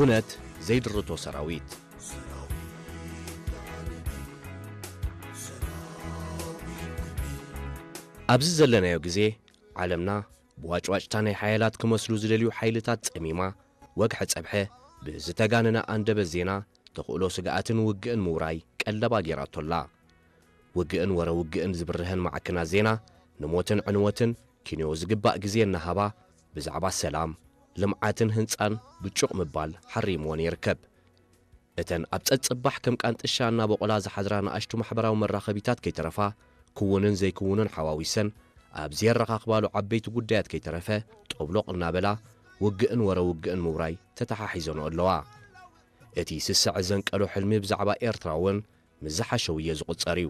ኩነት ዘይድርቶ ሰራዊት። ኣብዚ ዘለናዮ ግዜ፣ ዓለምና ብዋጭዋጭታ ናይ ሓያላት ክመስሉ ዝደልዩ ሓይልታት ጸሚማ፣ ወግሐ ጸብሐ ብዝተጋነነ ኣንደበት ዜና፣ ተኽእሎ ስግኣትን ውግእን ምውራይ ቀለባ ጌራቶላ። ውግእን ወረ ውግእን ዝብርሀን ማዕከናት ዜና፣ ንሞትን ዕንወትን ኪንዮ ዝግባእ ግዜ እናሃባ፣ ብዛዕባ ሰላም፣ ልምዓትን ህንጻን ብጩቕ ምባል ሓሪምወን ይርከብ። እተን ኣብ ጸጽባሕ ከም ቃንጥሻ እናበቆላ ዝሓድራ ንኣሽቱ ማሕበራዊ መራኸቢታት ከይተረፋ፣ ክውንን ዘይክውንን ሓዋዊሰን ኣብ ዘየረኻኽባሉ ዓበይቲ ጉዳያት ከይተረፈ፣ ጦብሎቕ እናበላ ውግእን ወረ ውግእን ምውራይ ተተሓሒዘንኦ ኣለዋ። እቲ ስስዐ ዘንቀሎ ሕልሚ ብዛዕባ ኤርትራ እውን ምስ ዝሓሸ ውየ ዝቑጸር እዩ።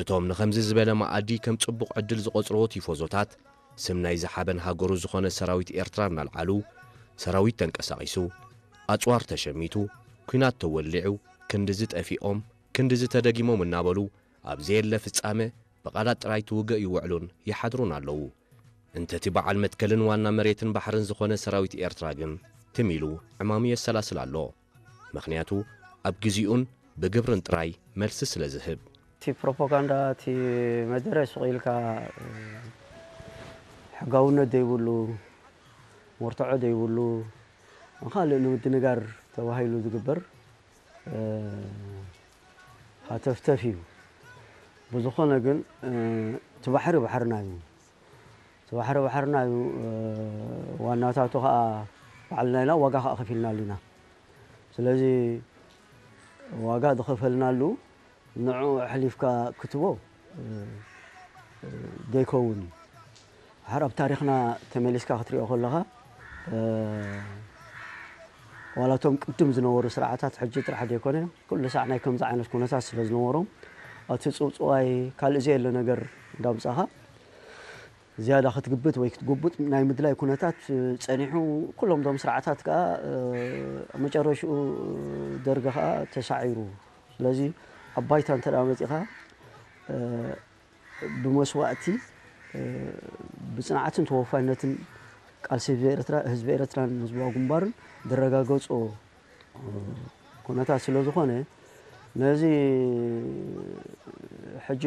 እቶም ንኸምዚ ዝበለ መኣዲ ከም ጽቡቕ ዕድል ዝቖጽርዎ ቲፎዞታት፣ ስም ናይ ዝሓበን ሃገሩ ዝኾነ ሰራዊት ኤርትራ እናልዓሉ፣ ሰራዊት ተንቀሳቒሱ፣ ኣጽዋር ተሸሚቱ፣ ኲናት ተወሊዑ፣ ክንድዚ ጠፊኦም፣ ክንድዚ ተደጊሞም እናበሉ፣ ኣብ ዘየለ ፍጻመ ብቓላት ጥራይ ትውግእ ይውዕሉን ይሓድሩን ኣለዉ። እንተቲ በዓል መትከልን ዋና መሬትን ባሕርን ዝኾነ ሰራዊት ኤርትራ ግን፣ ትም ኢሉ ዕማሙ የሰላስል ኣሎ። ምኽንያቱ፣ ኣብ ግዜኡን ብግብርን ጥራይ መልሲ ስለ ዝህብ። እቲ ፕሮፓጋንዳ፣ እቲ መደረ ሱቕ ኢልካ፣ ሕጋውነት ዘይብሉ፣ መርትዖ ዘይብሉ፣ ንኻልእ ንምድንጋር ተባሂሉ ዝግበር፣ እ፣ ሃተፍተፍ እዩ። ብዝኾነ ግን፣ እ፣ እቲ ባሕሪ ባሕርና እዩ። እቲ ባሕሪ ባሕርና እዩ። እ፣ ዋናታቱ ኸኣ ባዕልና ኢና፣ ዋጋ ኸኣ ከፊልናሉ ኢና። ስለዚ ዋጋ ዝኸፈልናሉ ንዕኡ ኣሕሊፍካ ክትቦ፣ እ፣ እ፣ ዘይከውን እዩ። ድሓር ኣብ ታሪኽና ተመሊስካ ክትሪኦ ከለኻ፣ እ፣ ዋላ እቶም ቅድም ዝነበሩ ስርዓታት ሕጂ ጥራሕ ዘይኮነ፣ ኩሉ ሳዕ ናይ ከምዚ ዓይነት ኩነታት ስለ ዝነበሮም፣ እቲ ጽውጽዋይ ካልእ ዘየለ ነገር እንዳምጻኻ፣ ዝያዳ ክትግብት ወይ ክትጉብጥ ናይ ምድላይ ኩነታት ጸኒሑ፣ ኩሎም እዞም ስርዓታት ከኣ፣ እ፣ መጨረሽኡ ደርጊ ከኣ ተሳዒሩ። ስለዚ ኣብ ባይታ እንተ ደኣ መጺኻ፣ እ፣ ብመስዋእቲ፣ እ፣ ብጽንዓትን ተወፋይነትን ቃልሲ ህዝቢ ኤርትራ፣ ህዝቢ ኤርትራን ህዝባዊ ግንባርን ዝረጋገጾ፣ እ፣ ኩነታት ስለ ዝኾነ፣ ነዚ ሕጂ